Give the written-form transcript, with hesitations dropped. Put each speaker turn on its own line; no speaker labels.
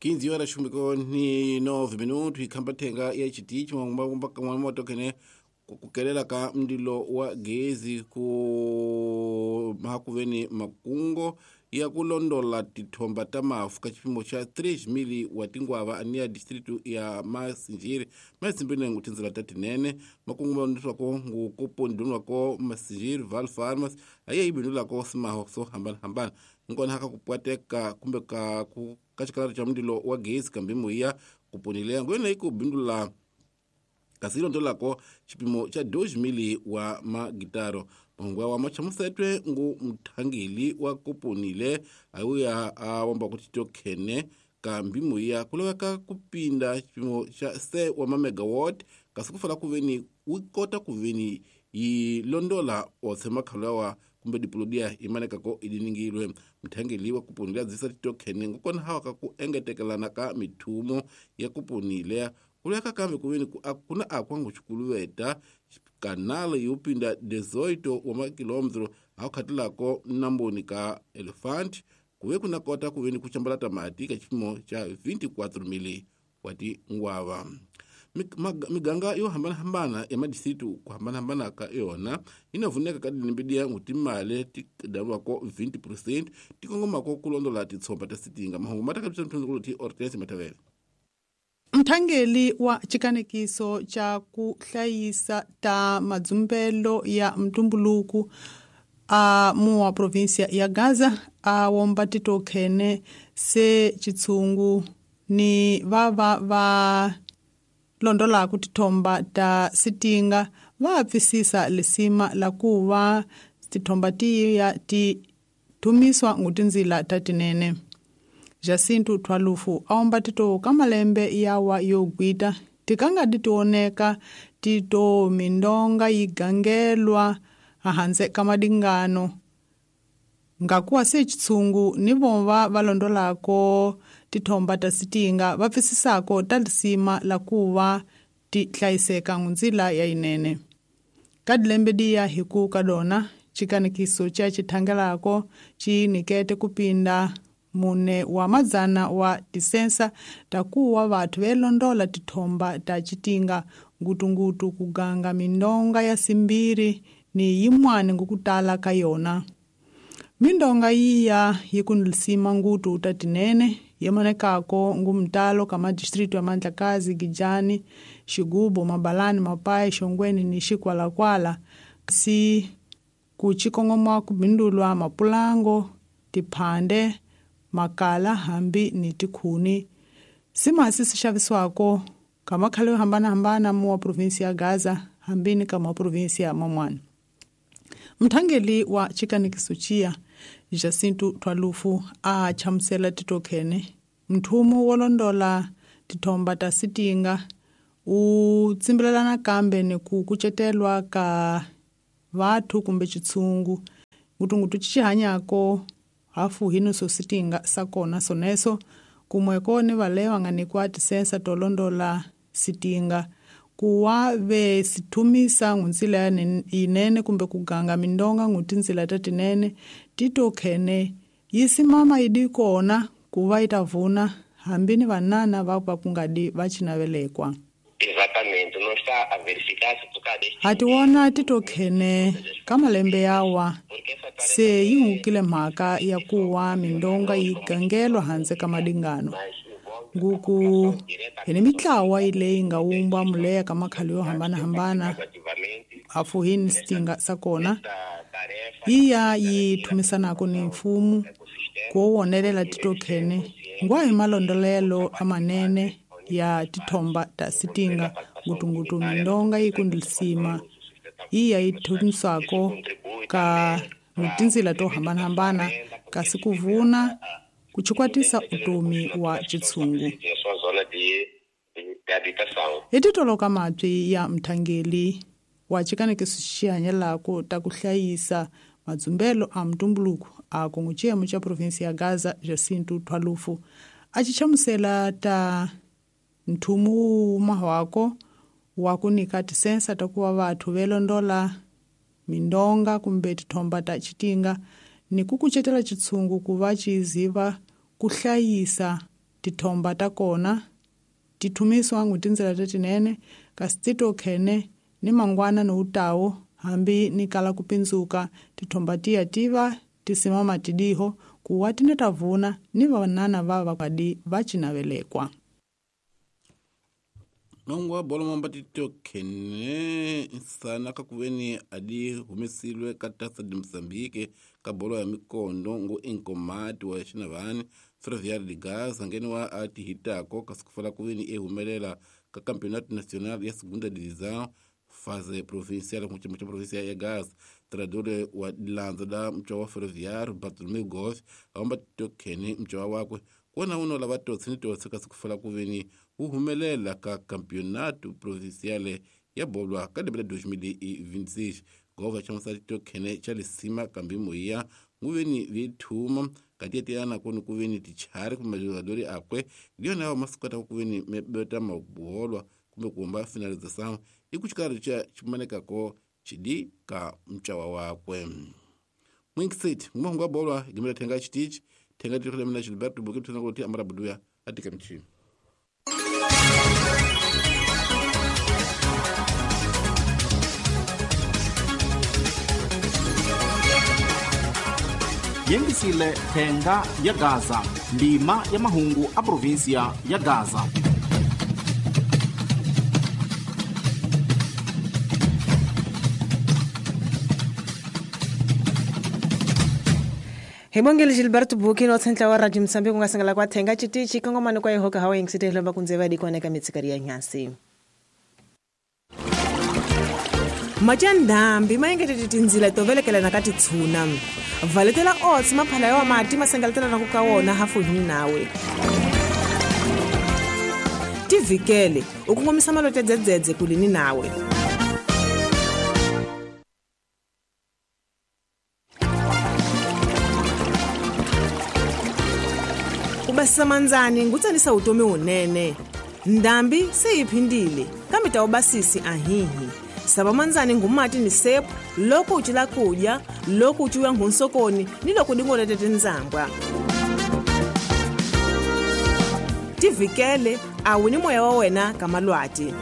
15 horas ni 9 minutos ikhambathenga ya chitichi mwamotokhene kukelela ka mndilo wa gezi ku mahakuveni makungo ya kulondola tithomba ta mafu ka xipimo xa 3 wa tingwava aniya distritu ya Masinjiri masimbinengu tindzela ta tinene makungu malondziswako ngukupondunwako Masinjiri Val Farmers aye yibindulako simaho swo hambanahambana nkona haka kupwateka kumbe ka ka xikalaro xa mndilo wa gezi kambe muya kuponile ngwena ikubindula kasi ilondolako xipimo xa 2 wa magitaro mahungu wa machamusetwe ngu muthangeli wa koponile awuya a wamba ku titokhene kambi muya ku laveka ku pinda xipimo xa se wa mamegawatt kasi ku fala ku veni wu kota ku veni yi londola otse makhalo yawa kumbe dipolodia yi manekako idiningilwe muthangeli wa kuponile adzisa titokhene ngokona hawaka ku engetekelana ka mithumo ya kuponile kuleka kambe kuveni kuna akwangu xikuluveta kanala yo pinda 18 wa makilometro akhatilako namboni ka Elephant kuve kuna kota kuveni kuchambalata mati ka xipimo xa 24 mili wa tingwava. Miganga yo hambanahambana ya madistritu ku hambanahambana ka yona yi na vuneka ka dilimbidiya ngutimale ti daliwako 20% ti kongomako ku londola titshomba ta sitinga. Mahungu ma ta ka ti Hortense Matavele.
Mthangeli wa chikanekiso cha ku hlayisa ta madzumbelo ya mtumbuluku a muwa provinsia ya Gaza a womba titokhene se chitsungu ni vava va londolaku tithomba ta sitinga va pfisisa lisima la kuva tithomba tiya ti thumiswa ngutinzila ta tinene. Jacinto Twalufu aomba tito kamalembe yawa yogwita tikanga ditioneka tito mindonga yigangelwa ahanze kamadingano ngakuwa se chitsungu ni vova valondolako tithomba ta sitinga va pfisisako ta lisima la kuva ti hlayiseka ngunzila ya inene. Kadilembe diya hiku kadona chikanikiso cha chithangelako chinikete kupinda mune wa madzana wa tisensa takuwa vathu velondola tithomba ta chitinga ngutungutu kuganga mindonga ya simbiri ni yimwani ngukutala ka yona. Mindonga yiya yikunlisima ngutu ta tinene yemonekako ngumtalo kama distritu ya Mandlakazi, Gijani, Xigubu, Mabalani, Mapai, Xongweni ni Xikwalakwala si kuchikongomwa kubindulwa mapulango, tiphande, makala hambi ni tikhuni. Simasi sixavisiwako ka makhale yo hambanahambana muwa provinsi ya Gaza hambi ni ka maprovinsi ya mamwana. Mthangeli wa chikanikiso chiya Jacinto Twalufu a chamusela titokhene mthumu wo londola tithomba ta sitinga u tsimbelelana kambe ni ku kucetelwa ka vathu kumbe chitsungu ngutungutu chichihanyako hafu hino so sitinga sakona soneso kumweko ni valewa nga nikwa tisensa tolondola sitinga kuwa ve sithumisa ngunzila inene kumbe kuganga mindonga ngutinzila tatinene titokhene yisimama idikona kuva itavuna hambi ni vanana va kungadi vachinavelekwa.
Exatamente, não está a verificar se por causa deste
hatiwona titokhene ka malembe yawa se yi hungukile mhaka ya kuwa mindonga yi gangelwa handze ka madingano nguku hi ni mitlawa leyi nga wumba muleya ka makhale yo hambanahambana hafu hi ni sitinga sakona yiya yi thumisanako ni mfumu ku wonelela titokhene ngwa hi malondolelo amanene ya tithomba ta sitinga ngutungutu mindonga yikundilisima yiya yi thumisako ka tinzila to hambanahambana kasi kuvuna kuchikwatisa utomi wa chitsungu. Hi titoloka mabyi ya mthangeli wa chikanekiso xihanyelako ta ku hlayisa madzumbelo a mtumbuluko a kongo cha provinsi ya Gaza Jacinto Twalufu a chichamusela ta nthumu mahwako wa ku nyika tisensa ta kuva vathu velondola mindonga kumbe tithomba ta chitinga ni ku kucetela chitsungu ku va chiziva ku hlayisa Tithomba ta kona ti thumisiwa ngu tindzela tetinene kasi ti tokhene ni mangwana ni utawo hambi ni kala kupindzuka tithomba tiya tiva tisimama tidiho kuwa tine tavuna ni vanana va vakwadi va cinavelekwa.
Nongo wa bolo mamba titokhene nsana ka kuveni adi humesilwe ka Taça de Moçambique ka bolo ya mikondo ngu inkomati wa xinavani Ferroviário de Gaza ngene wa atihitako kasi kufala kuveni ehumelela ka Campeonato Nacional ya Segunda Divisão fase provincial ku cha província ya Gaza. Treinador wa dilandza da mtwa wa Ferroviário Bartolomeu Gomes awamba titokhene mtwa wakwe kuona uno lava totsi ni totsi kasi kufala kuveni wu humelela ka Campeonato Provincial ya bolwa ka lembe la 2026. Gova xa musati tokhene cha lisima kambi moya nguveni vithuma katiyetiyana koni kuveni tichari kumbe majogadori akwe ndiyona yawo masikota kuveni mebeta mabolwa kumbe kuhumba finalização i ku xikarhi xa ximanekako xidi ka mcawa wakwe. Mwinkisit ngumahungu wa bolwa gimela thenga xitichi thenga tiri mina Gilberto Buki thena kuti amara buduya atika mchini.
Yengisile thenga ya Gaza, ndima ya mahungu a província ya Gaza.
Hi bongele Gilberto Buki no tsentla wa Radio Mozambique ku nga sangala kwa thenga chitichi kongomano kwa yehoka hawa yengisite lomba kunzeva dikona ka mitsikari ya nyasi. Majandambi mayengetete tindzila to velekela na ka titshuna. Valetela oats maphala ya mati masengaletela na ku ka wona hafu hi nawe. Tivikele u kongomisa malote dzedzedze kulini nawe. Ku basisa mandzani ngutsanisa utomi wunene. Ndambi se yi phindile kambe ta ubasisi ahihi. Sava mandzani ngumati ni sepu loko u cila kudya, loko u cuya nghunsokoni ni loko dingolete tindzambwa. Tivikele a wu ni moya wa wena ka malwati.